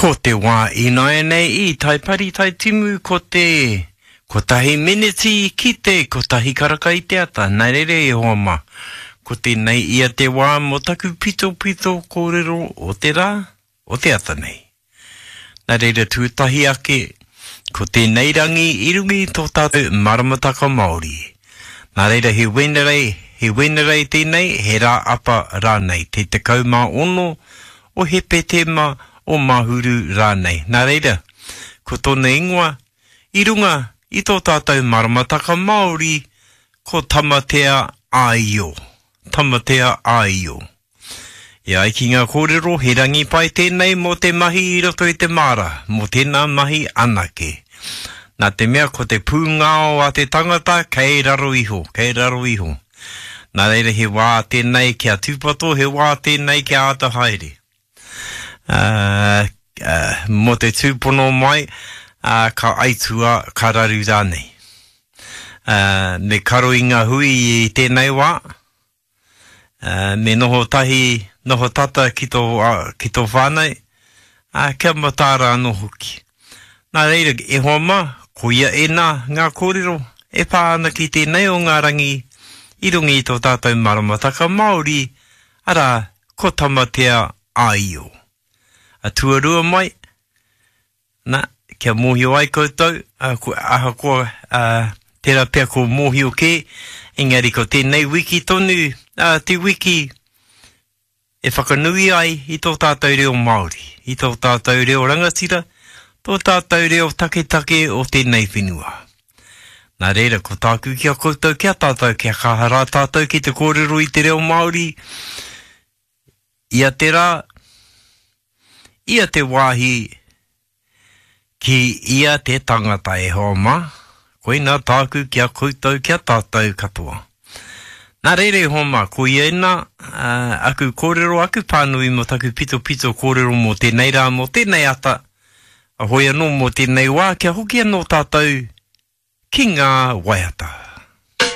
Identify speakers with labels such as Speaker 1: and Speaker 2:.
Speaker 1: Ko te wā ināianei i Taipari Taitimu ko te kotahi meneti ki te kotahi karaka i te ata. Nā reira e hoa mā, ko tēnei ia te wā mō taku pitopito kōrero o te rā, o te ata nei. Nā reira tuatahi ake, ko tēnei rangi i runga i tō tātou maramataka Māori. Nā reira he Wenerei, he Wenerei tēnei, he rā apa rānei, te 16 o Hepetema, o Mahuru rānei. Nā reira, ko tōna ingoa, i runga i tō tātou maramataka Māori, ko Tamatea Āio. Tamatea Āio. E ai ki ngā kōrero, he rangi pai tēnei mō te mahi i roto i te māra, mō tēnā mahi anake. Nā te mea ko te pūngao a te tangata kei raro iho, kei raro iho. Nā reira he wā tēnei kia tūpato, he wā tēnei kia āta haere. Ā, ā, mō te tūpono mai, ā, ka aitua, ka raru rānei. Ā, me karo i ngā hui i tēnei wā, me noho tahi, noho tata ki tō, ki tō whānau, ā, kia mataara anō hoki. Nā reira, e hoa mā, koia ēnā ngā kōrero e pā ana ki tēnei o ngā rangi i runga i tō tātou maramataka Māori, arā, ko Tamatea Āio. A tuarua mai, Na, kia mōhio ai koutou, ahakoa tērā pea ko mōhio kē, engari ko tēnei wiki tonu te wiki e whakanui ai i tō tātou reo Māori, i tō tātou reo rangatira, tō tātou reo taketake o tēnei whenua. Nā reira, ko tāku ki a koutou, ki a tātou, kia kaha rā tātou ki te kōrero i te reo Māori, ia te rā, ia te wāhi, ki ia te tangata e hoa mā, koinā tāku ki a koutou, ki a tātou katoa. Nā reira e hoa mā, koia ēnā aku kōrero, aku pānui mō taku pitopito kōrero mō tēnei rā, mō tēnei ata, hoi anō mō tēnei wā, kia hoki anō tātou ki ngā waiata.